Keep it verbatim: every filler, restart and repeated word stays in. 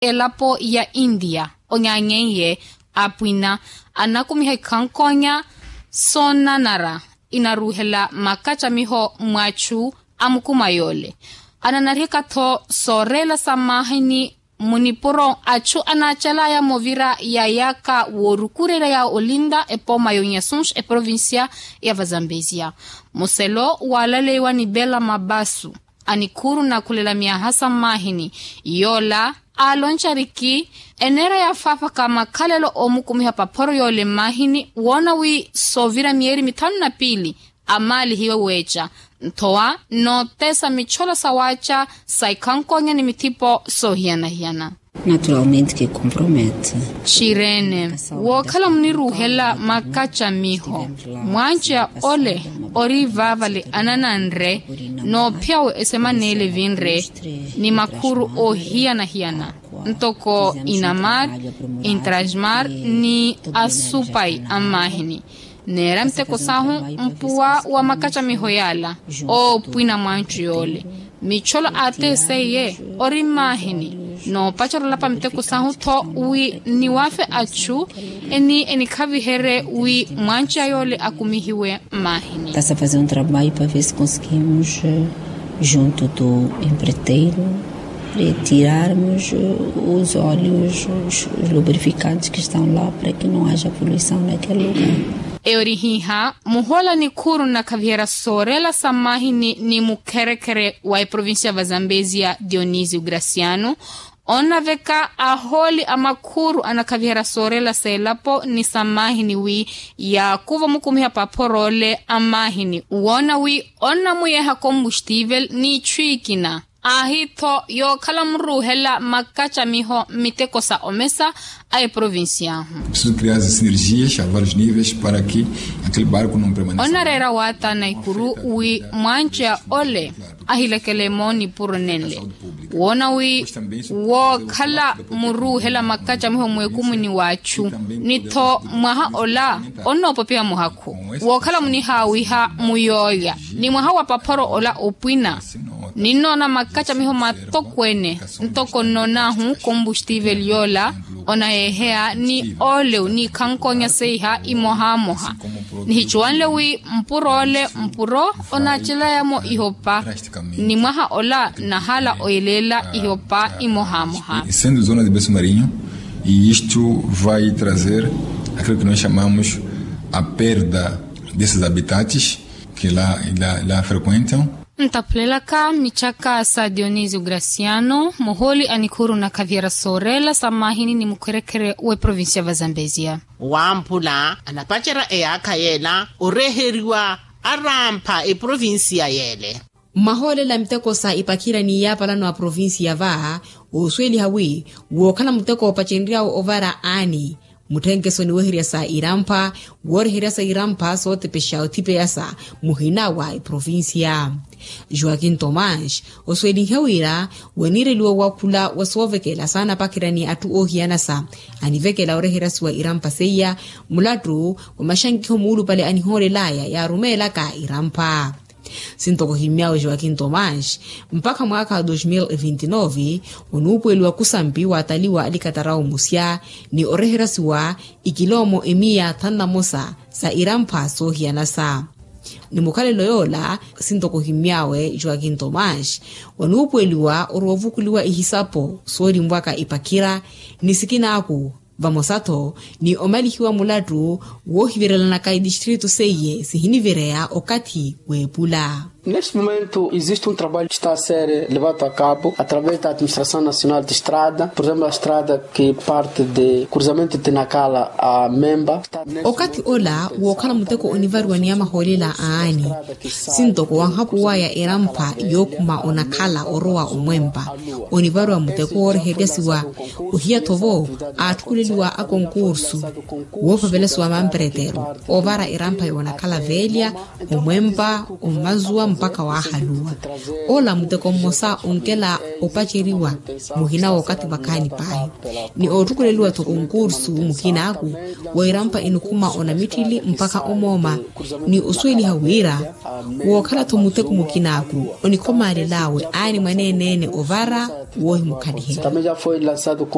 elapo ya india onyanyenye apwina anakumiha ikhankonya soonanara inaruhela makacamiho mwachu amukuma yole ananariheka-tho soorela sa mahini munipuro achu anachalaya movira yayaka worukurerya ya olinda epoma yonyasunx eprovincia ya vazambezia muselo walaleiwa ni bela mabasu anikhuru nakhulela myaha sa mmahini yola aaloncariki eneera yafaafaka makhalelo omukumiha paphoro yoole mmahini woona wi soovira miyeri mithanu na piili amaalihiwe weeca nthowa nootesa mitcholo sa waaca sa ikhankonya ni mithipo soohiyana-hiyana. Naturalmente que compromete. Xirene wookhala muniruuhela makacamiho mwanca ole ori vaavale anananre noophiya wa esemana ele vinre ni makhuru oohiyana-hiyana ntoko inamar intrasmar ni asupai a mmahini neera miteko sahu mpuwa wa makacamiho yaala oopwina mwancu yoole mitcholo aateseiye ori mmahini noopacerya olapa miteko sahu-tho wi niwafe achu eni enikhaviherye wi mwanca yoole akumihiwe mmahini. Tasa fazer um trabalho para ver se conseguimos junto do empreiteiro retirarmos os óleos lubrificantes que estão lá para que não haja poluição naquele lugar. Eyo ori hiiha muhola nikhuru nnakhaviherya soorela sa mmahini ni mukherekhere wa eprovincia vazambezia dionisio graciano onnaveka ahooli a makhuru anakhaviherya soorela sa elapo ni sa mmahini wi yaakuva omukumiha paphoro ole a mmahini woona wi onnamuyeeha kombustivel n'itthu ikina aahi-tho yookhala muruuhela makacamiho mmiteko sa omesa a eprovincia ahu. Preciso criar as sinergias a vários níveis para que aquele barco não permaneça. Onnareera waatana ikuru wi mwanca ole ahilekele moonipuro nenle woona wi wookhala muruuhela makacamiho mweekumuni w'achu ni-tho mwaha ola onnoopopiha muhakhu wookhala munihaawiha muyoolya ni mwaha wa paphoro ola opwina ninnoona makacamiho matokweene ntoko nnonaahu kombustivel yoola onayeeheya ni oolewu ni ikhankonya seiha imohamoha nihicuwanle wi mpuro ole mpuro onaacelaya-mo ihopa ni mwaha ola nahala oyeleela ihopa imohamoha. Sendo zona de beso marinho e isto vai trazer aquilo que nós chamamos a perda desses habitats que lá frequentam. Ntaphulelaka michaka sa dionisio graciano muhooli a nikhuru na khaviera soorela sa mmahini ni mukhwerekhere w'eprovincia va zambezia. Wamphula anapacerya eyaakha yeela oreheriwa arampha eprovincia yeele. Mmahoolela miteko sa ipakhira ni yaapalano a provincia va osuweliha wi wookhala muteko opacenryawe ovara aani mutthenkeso niweherya sa irampha wooreherya sa irampha sootepexa othipeyasa muhina wa eprovincia. Joaquim tomás osuwelinhe wira waniireliwa wakhula wa soovekela saanapakhira ni atthu oohiyanasa anivekela oreheryasiwa irampha seiya mulattu wa maxankiho muulupale anihoolelaya yaarumeelaka irampha. Sintoko himmyaawe joaquim tomás mpakha mwaakha wa dos mil e vinti nove onuupuweliwa kusampi waataliwa alikatara omusya ni oreheryasiwa ikiloomo emiya thanu na mosa sa irampha soohiyanasa. Ni mukhalelo yoola sintoko himmyaawe joaquim tomás wanuupuweliwa oroovukuliwa ihisapo soolimwaka ipakhira ni sikinaaku vamosa-tho ni omalihiwa mulattu woohivirelanaka itistritu seiye sihinivireya okathi w'epula. Neste momento existe um trabalho que está a ser levado a cabo através da administração nacional de estrada por exemplo a estrada que parte de cruzamento de nakala a memba. Okathi ola wookhala muteko onivariwa ni amahoolela aani sintoko wanhapuwaya erampha yookhuma onakhala orowa omwempa onivariwa muteko wooreheryasiwa ohiya-tho vo aatthukuleliwa akonkursu woopavelasiwa mamperetero oovara erampha yoonakhala veelya omwempa ommazuwa. mpakha waahaluwa. Ola muteko mmosa onkela opaceriwa muhina w'okathi vakhaani paahi, ni ootthukuleliwa-tho konkursu muhin'aku weirampa enikhuma onamitthili mpakha omooma, ni osuweliha wira wookhala-tho muteko mukin'aku onikhomalel'awe aani mwaneene-ene ovara woohimukhaliherya.